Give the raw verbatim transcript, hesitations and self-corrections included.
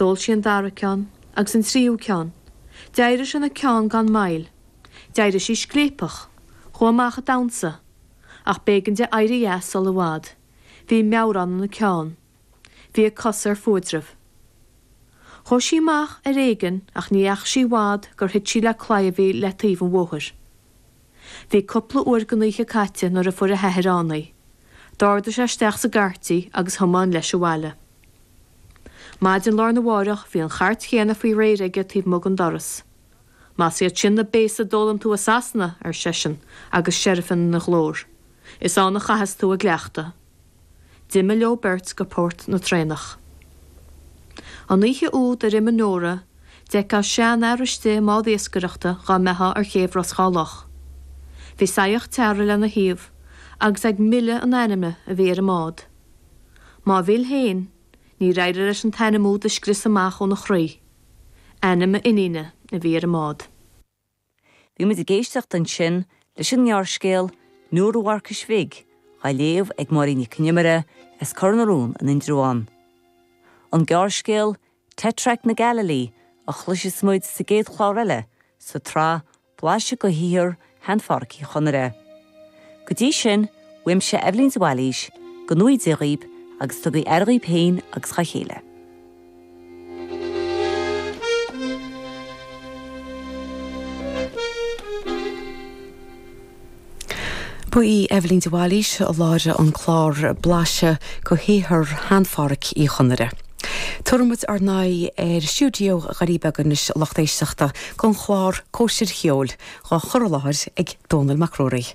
D'ól sí an dara ceann, agus an tríú ceann. D'éirigh sé ina ceann gan mhoill. D'éirigh sí scléipeach. Chuaigh amach ag damhsa. Ach b'éigean di éirí as sul i bhfad. Bhí meabhrán ina ceann. Bhí a cosa ar fuaidreamh. Chuaigh sí amach ar éigean ach ní dheachaigh sí i bhfad gur thit sí le claí a bhí le taobh an bhóthair. Bhí cúpla uair den oíche caite nuair a fuair a hathair ann í. D'ardaigh sé isteach sa gcairt í agus thiomáin leis abhaile. Maidin lá arna mhárach bhí an chairt chéanna faoi réir aige taobh amuigh den doras. Más iad sin na béasa a d'fhoghlaim tú i Sasana, ar seisean, agus seirfean ina ghlór, is ann a chaithfeas tú a gcleachtadh. D'imigh leo beirt go port na traenach. An oíche úd ar imigh Nóra, d'fheicfeá seanfhear istigh i mbád iascaireachta dhá mbeifeá ar chéibh Ros Dhá Loch. Bhí saíocht teara lena thaobh agus ag milleadh an ainme a bhí ar an mbád. Má mhill féin, níor éirigh leis an t-ainm úd a scrios amach óna chroí. Ainm a iníne a bhí ar an mbád. Bhí muid ag éisteacht ansin leis an ngearrscéal Nóra Mharcais Bhig á léamh ag Máirín Nic Con Iomaire as Cor na Rón in Indreabhán. An gearrscéal Tetrarch na Galilee a chloisfidh muid sa gcéad chlár eile sa tsraith Blaiseadh de Shaothar Shean-Phádhraic Uí Chonaire. Go dtí sin, uaimse Eibhlín de Bhailís, go ngnóthaí Dia dhaoibh agus tugaigí aire dhaoibh féin agus dá chéile. Ba í Eibhlín de Bhailís a láithrigh an clár Blaiseadh de Shaothar Shean-Phádhraic Uí Chonaire. Tabharfaidh muid ár n-aghaidh ar stiúideo Dhoirí Beaga anois a lucht éisteachta don chlár Cóisir Cheoil, á chur i láthair ag Dónall Mac Ruairí.